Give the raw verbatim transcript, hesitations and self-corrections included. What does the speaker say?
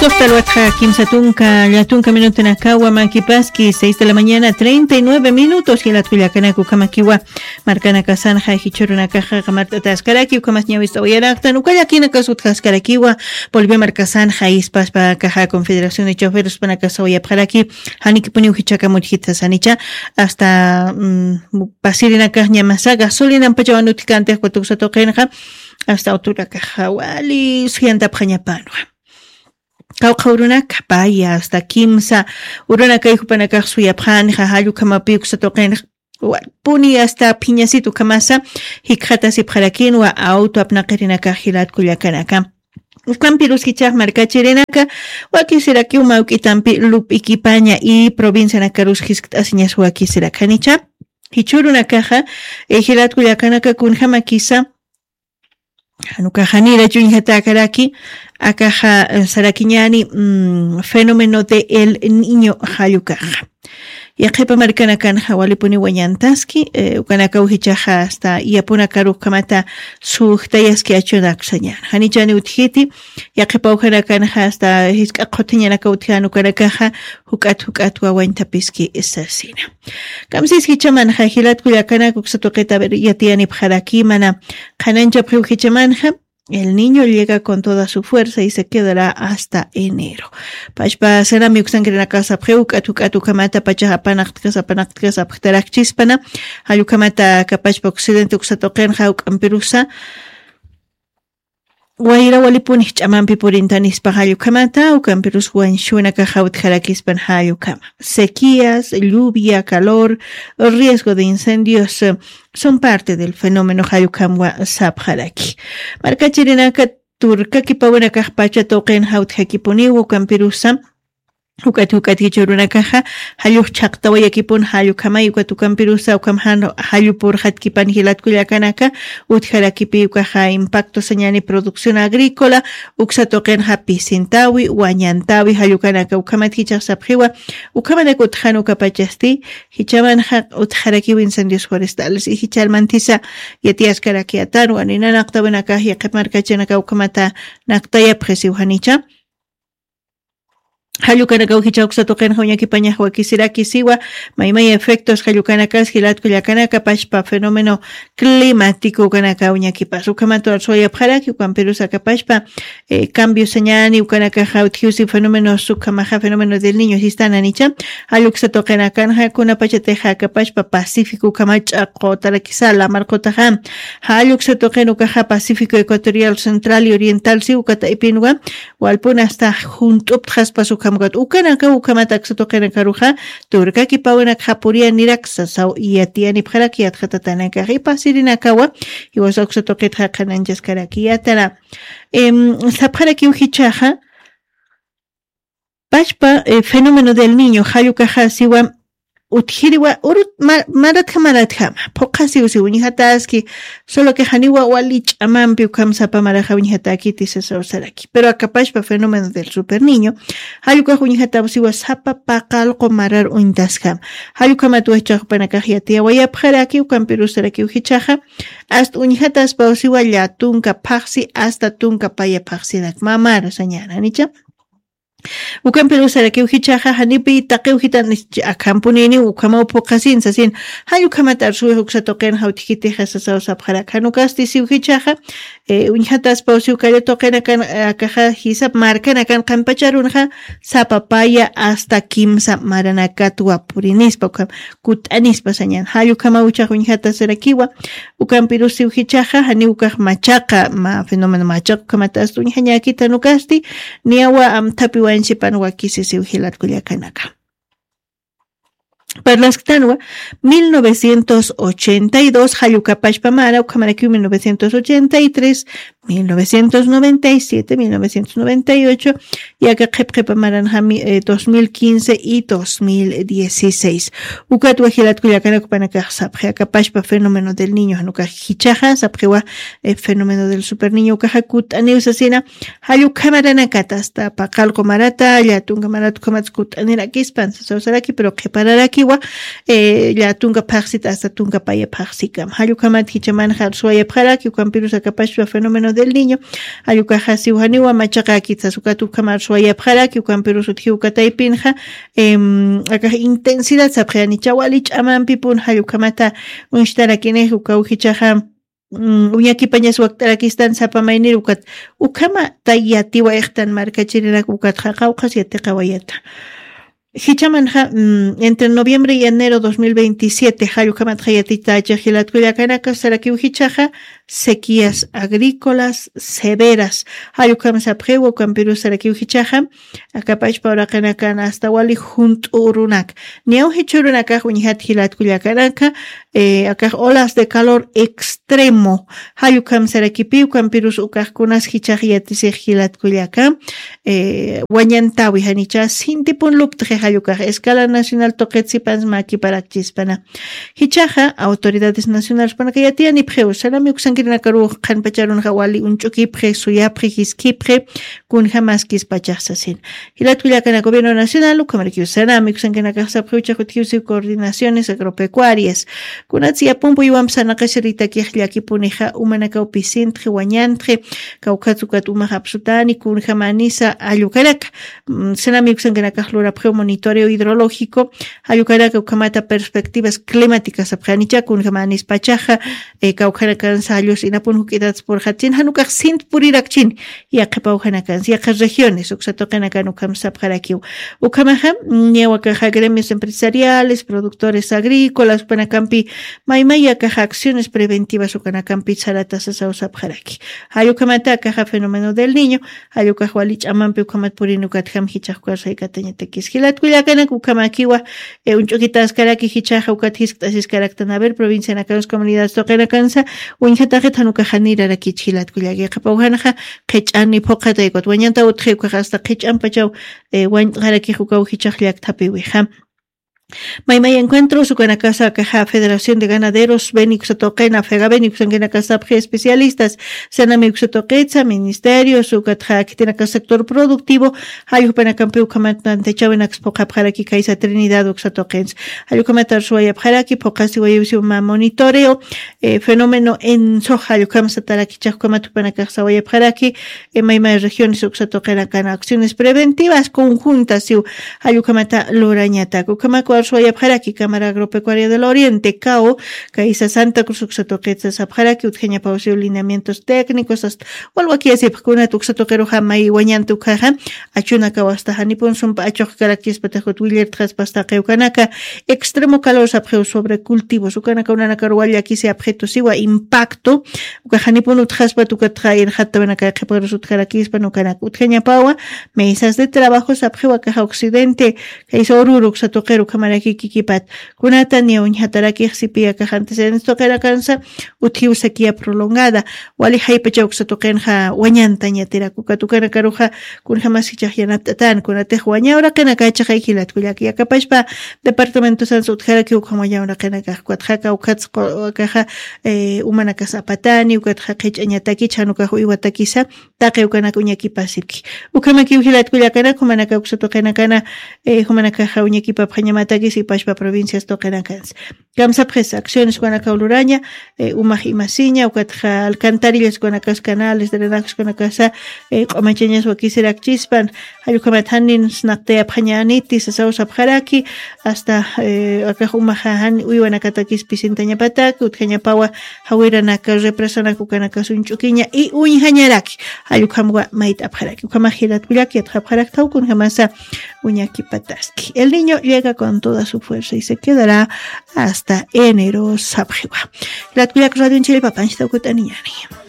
Hasta luego, kimsa tunka, la tunka minuto en acá, Wamaki Paski, seis de la mañana, treinta y nueve minutos, y la tuya canaco, Kamakiwa, Marcana Casanha, Hichuruna Caja, Marta Tascaraki, Ucamas Ñavis Oyaraktan, Ucayakina Casut Cascarakiwa, Bolivia Marcasanha, Ispas, Pacaja, Confederación de Choferos, Panacasa, Oyapjaraki, Haniki Puni, Ujichaca, Mujita, Sanicha, hasta mm, Pasirina Caja, Ñamasa, Gasolina, Pachawan, Uticante, Cuatuxa, Toquenja, hasta Otura Caja, Wali, Suyantapañapanwa. Qawqha urunaka paya hasta kimsa urunakay jupanakax suyapxanxa, jallukamapi uksa tuqinxa, warpuni hasta phiñasitu kamasa jikxatasipxarakinwa auto apnaqirinakax jilatkullakanaka. Ukampiruskichax markachirinaka wakisirakiw mawk'itampi lup'ikipaña y provincianakarus jiskt'asiñas wakisirakanicha, jichhurunakaxa jilatkullakanaka kunjamakisa. Janukaxa nira chuñjatäkaraki akaxa sarakiñani fenómeno de el niño jallukaxa. Yaqhipa markanakanxa walipuni wañantaski ukanakaw jichaxa asta iyapunakarukamata sujtayaski achunaksañan janichani utjiti. Yaqhipa ujanakanxa asta jisk'a qhuthiñanaka utjan ukanakaxa juk'at juk'at wawañtapiski sasina. Kamsis jichamanxa jilatkullakanak uksa tuqita yatiyanipxaraki mana qhananchapxiw jichamanxa. El niño llega con toda su fuerza y se quedará hasta enero. Pachpa serami uksankirinakasapxiw uk'at uk'at ukamata pachax apanaqtkas apanaqtkas apxtarakchispana. Jallukhamata kapachpa occidente uksa tuqinxa uk'ampirusa wayra walipunix ch'amampi purintanispa jallukhamata ukampirus wañshuwnakaxa utjarakispan jallukhama. Sequías, lluvia, calor, riesgo de incendios son parte del fenómeno jallukhamwa sapxaraki. Markachirinaka turkakipawinakax pacha tuqin jawtjakipuniw ukampirusa uk'at uk'at jichhurunakaxa jallux chhaqtawayakipun jallukhamay ukat ukampirusa ukham jan jallupurxatkipan jilatkullakanaka utjarakipi ukaxa impacto sañani producción agrícola uksa tuqinxa pisintawi wañantawi jallukanaka ukhamat jichaxsapxiwa. Ukhamanak utjan ukapachasti jichamanxa utjarakiw incendios forestales y jichalmantisa yatiyaskaraki atanwa ninanaqtawinakax yaqhip markachinaka ukhamata naktayapxisiw janicha. Jallukanakaw jichha uksa tuqinxa uñakipañax wakisirakisiwa maymay efectos jallukanakas jilatkullakanaka pachpa fenómeno climático ukanakaw uñakipas ukhamatu arsuwayapxaraki ukampirusaka pachpa cambio sañani ukanakaxa utjiwsi fenómeno sukhamaxa fenómeno del niño sistana nicha. Jalluksa tuqinakanxa kunapachatixa kapachpa pacífico ukhama ch'aqutarakisa lamarqutaxa jalluksa tuqin ukaxa pacífico ecuatorial central y oriental si ukataypinwa walpuna asta junt'uptxaspas ukhamkat ukanaka ukhamat aksa tuqinakaruxa turkakipawinakxa puriya niraksa saw yatiyanipxaraki yatxatatanakax ipasirinakawa. Iwasa uksa tuqitxa qhananchaskaraki yatara sapxarakiw jichaxa pachpa fenómeno del niño jallukaxa siwa utjiriwa urut maratja maratjama phuqhasiw si uñjataski solo que janiwa wali ch'amampi ukham sapa maraxa uñjatakiti sasawsaraki pero akapashpa fenómeno del super niño jallukax uñjataw siwa sapa paqallqu marar uñtaskama. Jallukhamat wajchaxpanakax yatiyawayapxaraki ukampirusarakiw jichaxa asta uñjataspaw siwa llätunka phaqsi asta tunka paya phaqsinak mamara sañananicha. Ukampirusarakiw jichaxa janipi taqiw jitan akhampuniniw ukhamaw phuqhasin sasin jallukhamat arsuwix uksa tuqinxa utjkitixa sasaw sapxarak janukasti siw jichaxa uñjataspaw siw kalla tuqinakan akaxa jisap markanakan qanpacharunxa sapa paya asta kimsa maranakatwa purinispa ukham kut'anispa sañan jallukhamaw uchax uñjatasarakiwa. Ukampirusiw jichaxa janiw ukax machaqa ma fenómeno machaqa ukhamata asta uñjañäkitanukasti niyawa amthapi wañsipan wakisisiw jilatkullakanaka. Parlasktanwa mil novecientos ochenta y dos jallukapashpa mara ukhamarakiw mil novecientos ochenta y tres, mil novecientos noventa y siete, mil novecientos noventa y ocho yaka qhipqhipa maranxami dos mil quince y dos mil dieciséis. Ukatwa jilatkullakanakpanakax sapxi akapashpa fenómeno del niño janukax jichaxa sapxiwa fenómeno del super niño ukaxa kut'aniw sasina. Jallukhamaranakat asta paqallqu marata llätunka marata ukhamat kut'anirakispan sasawsaraki pero qhipararakiwa llätunka phaqsit asta tunka paya phaqsikam jallukhamat jichamanxa arsuwayapxaraki ukampirus akapashpa fenómeno del Niño, jall ukaxa siw janiwa machaqäkit sas ukat ukhamar suwayapxaraki, ukampirus utjiw uka taypinxa, em, akax intensidad sapxi janicha wali ch'amampipun, jall ukhamata uñstarakinix uka ujichaxa, mm, uñakipañas wakt'arakistan sapa maynir ukat, ukhama tay yatiwa ixtan markachirinak ukatxa qawqhas yatiqawayata. Jichamanxa, mm, entre noviembre y enero dos mil veintisiete, jall ukhamatxa yatitächix jilat kullakanaka, sarakiw jichaxa, sequías agrícolas severas. Jall ukham sapxiwa, ukampirus sarakiw jichaxa, aka pachpa uraqinakan hasta wali junt'u urunak. Niyaw jichhürunakax uñjat jilat kullakanaka, eh, akax olas de calor extremo. Jall ukham sarakipi, ukampirus ukax kunas jichax yatisix jilat kullaka, eh, wañantäwi janicha sintipun luptxi jall ukax escala nacional tuqit sipans mäkiparakchispana. Jichaxa autoridades nacionalespanaka yatiyanipxiw, sarami uksankirinakaruw qhanpacharunxa wali uñch'ukipxi, suyapxi, jiskipxi, kunjamaskispachax sasin. Jilat kullakana gobierno nacional, ukhamarakiw sarami uksankinakax sapxiw, jichhax utjiw siw coordinaciones agropecuarias. Kunatsi yapumpu iwamp sarnaqasiritakix llakipunixa, umanakaw pisintxi, wañantxi, kawkhatsa ukat umax apsutani, kunjamanisa jall ukanaka. Mm, sarami uksankinakax lurapxiw monitoreo hidrológico, jall ukanaka ukhamata perspectivas climáticas sapxi janicha kunjamanispachaxa, eh, kawkhanakansa jall us inapun juk'itats purxatchin, jan ukax sint purirakchin, yaqhipaw janakansa, yaqha regiones, uksa tuqinakan ukham sapxarakiw. Ukhamaxa, mm, niyaw akaxa gremios empresariales, productores agrícolas, ukanakampi, maymay akaxa acciones preventivas ukanakampi sarata sasaw sapxaraki. Jall ukhamata akaxa fenómeno del Niño, jall ukax wali ch'amampi ukhamat purin ukatjam jichax ukax saykatañatakis. Jilat kullakanak ukhamakiwa, eh, uñch'ukitaskaraki jichaxa ukat jiskt'asiskaraktan, a ver, provincianakansa, comunidades tuqinakansa, uñjataxit jan ukax janirarakich jilat kullaki. Qhipaw janxa, qhich'ani phuqhatay ukat wañanta utji ukax hasta qhich'ampachaw, eh, wañt'xarakix ukaw jichax llakthapiwixa. Maymay encuentros ukanakasa akaxa Federación de Ganaderos, Beni uksa tuqina, FEGABENI uksankinakasapxi especialistas, SENAMI uksa tuqitsa, ministerios, ukatxa khitinakas sector productivo, jall jupanakampi ukhamat tantachawinaks phuqhapxaraki kaysa Trinidad uksa tuqins. Jall ukhamat arsuwayapxaraki, phuqhasiwayusi uma monitoreo, eh, fenómeno ENSO, jall ukham satarakichax ukhamat jupanakax sawayapxaraki, eh, maymay regiones uksa tuqinakan acciones preventivas conjuntas siw, jall ukhamata lurañatak. Ukhamak arsuwayapxaraki Cámara Agropecuaria del Oriente, cao, kaysa Santa Cruz uksa tuqitsa sapxaraki, utjañapaw siw lineamientos técnicos, hasta walwakiyasipxkunat uksa tuqiruxa may wañanta ukhaxa, achunakaw hasta janipun sumpa achuqkarakchispatax ukat willirtxaspas taqi ukanaka, extremo calor sapxiw sobre cultivos, ukanaka unanakaruw wal llakisi apxitu siwa impacto, ukax janipun utjaspat ukatxa irxattawinaka qhiparus utjarakispan ukanaka utjañapawa, mesas de trabajo sapxiw akaxa occidente, kaysa Oruro uksa tuqiru ukhamaraki kikipat, kunata niya uñjatarakix sipi akax antecedentes tuqinakansa, utjiw sequía prolongada, wali jaypachaw uksa tuqinxa wañantañatirak, ukat ukanakaruxa kunjamas jichax yanapt'atan, kunatix waña uraqinakachaxay jilat kullaki, aka pachpa departamentosansa utjaraki ukham waña uraqinakax, ukatxa kawkhatsa qu-, akaxa, eh, umanakas apatani, ukatxa qhich'añataki, jan ukax uywatakisa, taqi ukanak uñakipasipki. Ukhamakiw jilat kullakanak, jumanaka uksa tuqinakana, eh, jumanakaxa uñakipapxañamatakis ipachpa provincias tuqinakansa. Kamsapxis acciones ukanakaw luraña, eh, umax imasiña, ukatxa alcantarillas ukanakas, canales, drenajes ukanakasa, eh, q'umachañas wakisirakchispan, jall ukhamat janin snaqtayapxañäniti sasaw sapxaraki, hasta, eh, akax umaxa jan uywanakatakis pisintañapataki, utjañapawa jawiranaka, represanak ukanakas uñch'ukiña y uñjañaraki, jall ukhamwa mayt'apxaraki. Ukhamax jilat kullak yatxapxaraktaw kunjamasa uñakipataski. El Niño llega con toda su fuerza y se quedará hasta enero sapxiwa. Jilat kullak, Radio Anchhiri papanchita ukut'aniñani.